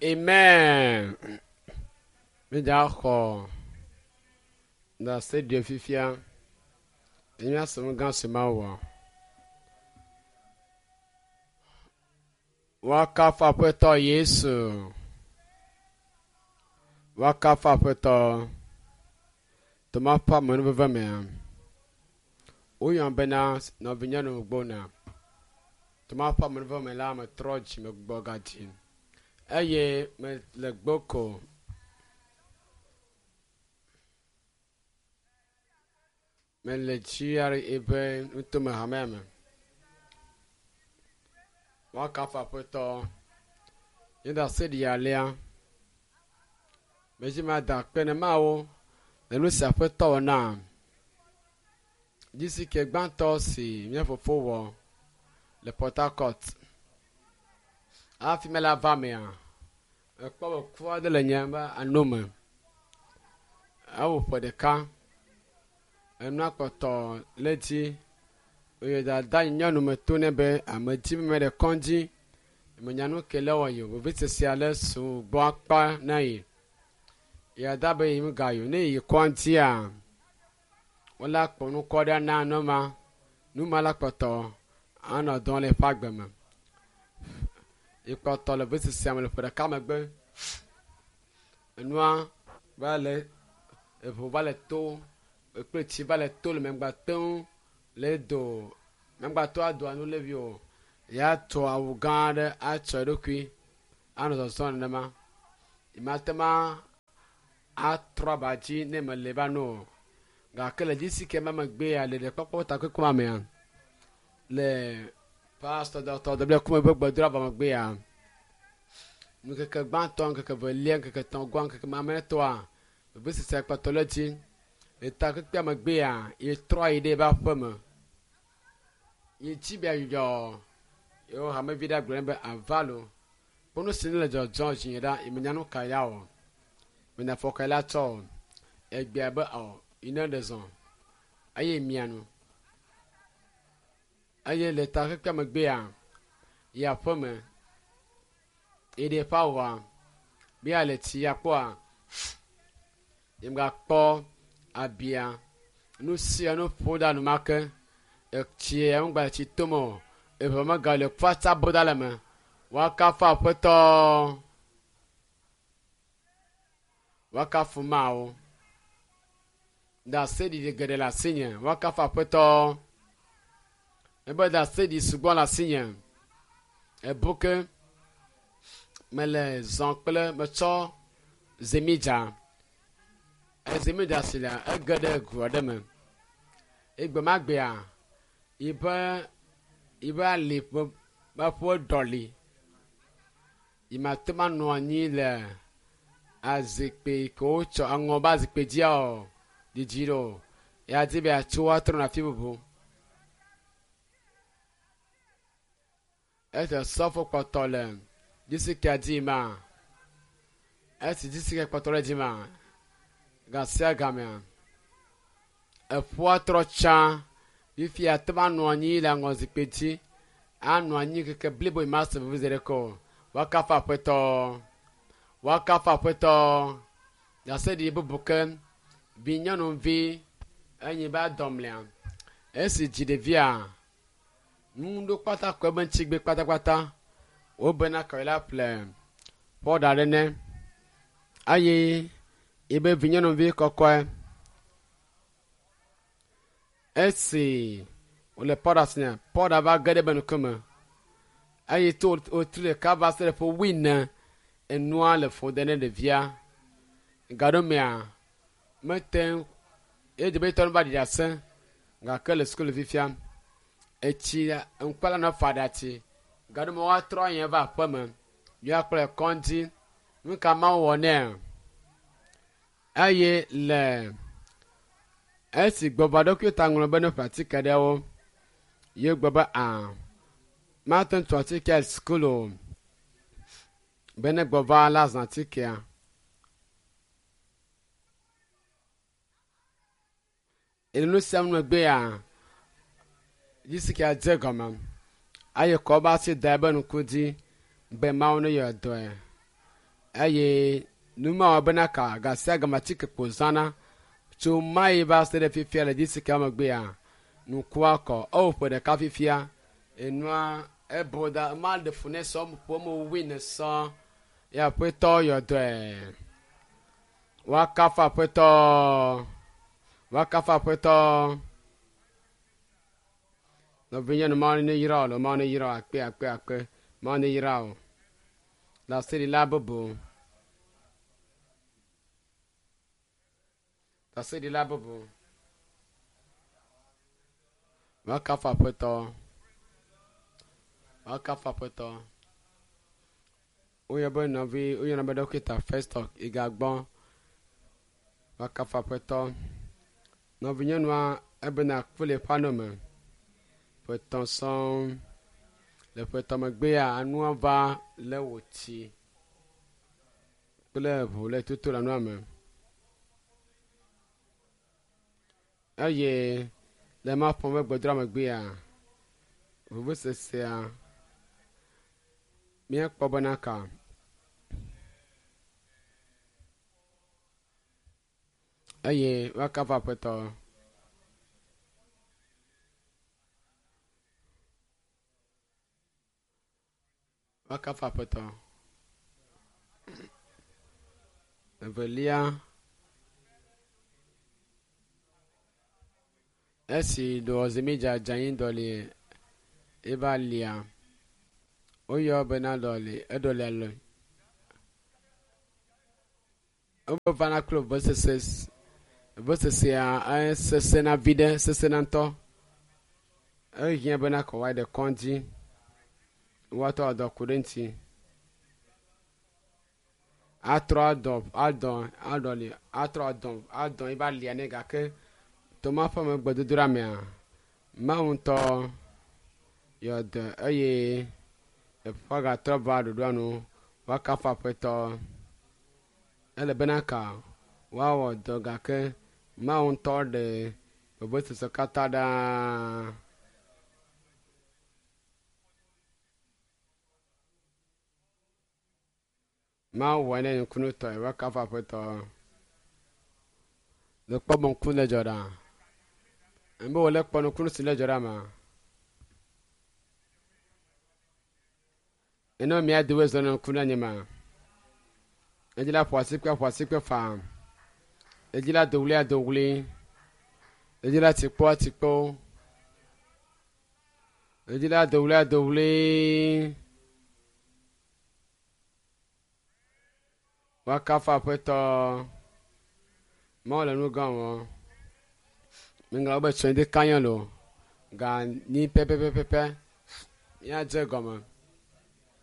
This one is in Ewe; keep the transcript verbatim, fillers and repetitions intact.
Amen. Mi dza xɔ ɖase ɖe fifia. Enye asem gã si ma wɔ. Woakafu Aƒetɔ Yesu. Woakafu Aƒetɔ. Toma ƒe amenuveve mea. Woyɔm bena nɔvinyɔnu gbɔna. Toma ƒe amenuveve me la, metrɔ dzime gbugbɔ gadzi. Eye mele gboko. Mele G R A ƒe nutome hamea me. Woakafu Aƒetɔ. Nye ɖase ɖi alea. Medzi mada akpe ne Mawu le nu si Aƒetɔ wɔ nam. Dzisi ke gbãtɔ si mía fofo wɔ le Port Harcourt. Hafi mele ava mea, mekpɔ be ku aɖe le nye be anome. Ewɔ ƒe ɖeka. Enua kpɔtɔ le dzi. Eye dada yi nyɔnu me to nɛ be ame dzi me ɖe kɔdzi. Menya nu ke le wɔ yi o. Vevesese ale su gbɔ akpa na yi. Ya da be yi ga yi o. Ne yi kɔdzia, wola kpɔ nu kɔ ɖe na numa. Numa la kpɔtɔ anɔ dɔm le eƒe agbe me. Yi kpɔtɔ le vevesesea me le ƒe ɖeka megbe. Enua va le eʋu va le to kple tsi va le to le megba te ŋu le do megba to adoa nu le vi o. Ya tso awu gã aɖe atsɔ eɖokui anɔ zɔzɔm nenema. Mate ma atrɔ aba dzi ne mele va no o. Gake le dzisi ke ma megbea le ɖekpɔkpɔ takpekpe ma mea, le pastor Doctor W. Kume ƒe gbedoɖa vɔ megbea, ŋkeke gbãtɔ, ŋkeke velia, ŋkeke etɔ̃gɔa, ŋkeke mamlɛtɔa, vevesese kpɔtɔ le dzi. Le takpekpea megbea, yetrɔ yi ɖe eƒe aƒeme. Yi dzi be yeadzudzɔ yewo hamevi ɖe gblɔ nɛ be ava lo. Kpɔ nu si ne le dzɔdzɔm dzi ɖa, yi menya nu ka ya o. Menya afɔ ka la tsɔ o. Egbea be ɔ, yi ne ɖe zɔ. Eye mia nu. Eye le takpekpea megbea, yi aƒeme. Yi ɖe eƒe awua, be ya le tsi ya kpɔa, yi megakpɔ abia. Nu sia nu ƒo ɖa enumake. Etsi ya ŋgba le tsi tom o. Eʋe megale kpatsa bo ɖa le me. Woakafu Aƒetɔ. Woakafu Mawu. Ɖaseɖiɖi geɖe le asinye. Woakafu Aƒetɔ. Ebe ɖaseɖi sugbɔ le asinye. Ebu ke mele zɔ kple metsɔ zemidza. Ezemidza si le ege ɖe gu aɖe me. Egbe ma gbea, yiƒe, yiƒe ali ƒe, ƒe ɖɔli. Yi ma te ma nɔ anyi le azikpui ke wotsɔ aŋɔ be azikpui dzia o, didi ɖo o. Ya di be yeatso atrɔ na afi bubu. Esi sɔfo kpɔtɔ le distriktia dzi ma, esi distriktia kpɔtɔ le dzi ma, gasia gamea, eƒua trɔ tsã. Fifia te va nɔ anyi le aŋɔzikpui dzi. Anɔ anyi keke blibo yi ma se veve zi ɖeke o. Woakafu Aƒetɔ. Woakafu Aƒetɔ. Ɖaseɖiɖi bubu ke vi nyɔnuvi enyi be adɔmlea. Esi dzi ɖevia, nu ɖo kpata kɔ ebe ŋutigbe kpatakpata. Wobena kɔ la ƒle pɔɖa ɖe nɛ. Eye ebe vi nyɔnuvi kɔkɔe. Esi wòle pɔɖa si nɛ, pɔɖa va ge ɖe ebe ŋkume. Eye to wòtri ɖeka va se ɖe ƒe wuiene, enua le ƒo ɖe ne ɖevia. Gaɖomea, mete ŋu, edze be etɔ nu va ɖi ɖase gake le sukulu fifia. Etsi ŋkpala nɔ fa ɖatsi. Gaɖome woatrɔ yi va aƒeme. Míakplɔe kɔdzi. Nu ka Mawu wɔ nɛ? Eye le esi gbɔgbɔ ɖokui ta ŋlɔ be ne ƒe atike ɖewo, ye gblɔ be a, mate ŋu tu atike le sukulu o. Be ne gbɔva la zã atikea. Le nu sia nu megbea, distriktia dze gɔme. Eye kɔ be asi da ebe ŋku dzi be Mawu ne yɔ dɔe. Eye numa wɔ bena ka gasia gama atike kpo zãna tso mayi va se ɖe fifia le disika megbea nukua kɔ ewo ƒe ɖeka fifia enua ebo da ma ɖe fu ne sɔ ƒo mo wi ne sɔ ya aƒetɔ yɔ dɔe woakafu aƒetɔ woakafu aƒetɔ nɔvinye mawo ne yra o mawo ne yra o akpe akpe akpe mawo ne yra o le aseɖila bubu aseɖila bubu woakafu aƒetɔ woakafu aƒetɔ woyɔ be nɔvi woyɔna be dɔkita Festus igagbɔ woakafu aƒetɔ nɔvinyɔnua ebena ku le eƒe anɔ me ƒe etɔ̃ sɔŋ le ƒe etɔ̃ megbea anua va le wò tsi kple ʋu le toto le anua me eye le ma ƒe gbedoɖa megbea vevesesea míekpɔ bena ka eye woakafu aƒetɔ woakafu aƒetɔ evelia esi dɔwɔzimidza dze anyi dɔli eva lia woyɔ bena dɔli eɖɔlia le wovana kple vevesese vevesesea esesẽna vi ɖe sesẽna ŋutɔ ehiã bena kɔ woayi ɖe kɔdzi woatɔ adɔ ku ɖe ŋuti atrɔ adɔ adɔ aɖɔli atrɔ adɔ adɔ eva lia nɛ gake toma ƒe megbedodoɖa mea mawu ŋutɔ yɔ dɔ eye eƒe gatrɔ va ɖoɖoa nu woakafu aƒetɔ ele bena ka woawɔ dɔ gake mawu ŋutɔ ɖe vevesese katã ɖaa. Mawu wɔ ne nukunutɔe woakafu aƒetɔ le kpɔ be ŋku le dzɔ ɖa ebe wòle kpɔ nukunu si le dzɔ ɖa ma ene mía dowe zɔ ne ŋku na nye ma edzi la ƒo asikpe ƒo asikpe faa edzi la do ɣli ado ɣli edzi la tsikpɔ atsikpɔ edzi la do ɣli ado ɣli woakafu aƒetɔ mawu le nu gã wɔm miŋlɔ be tsɔe de kanya lo ga nyi pɛpɛpɛpɛ míadze gɔme.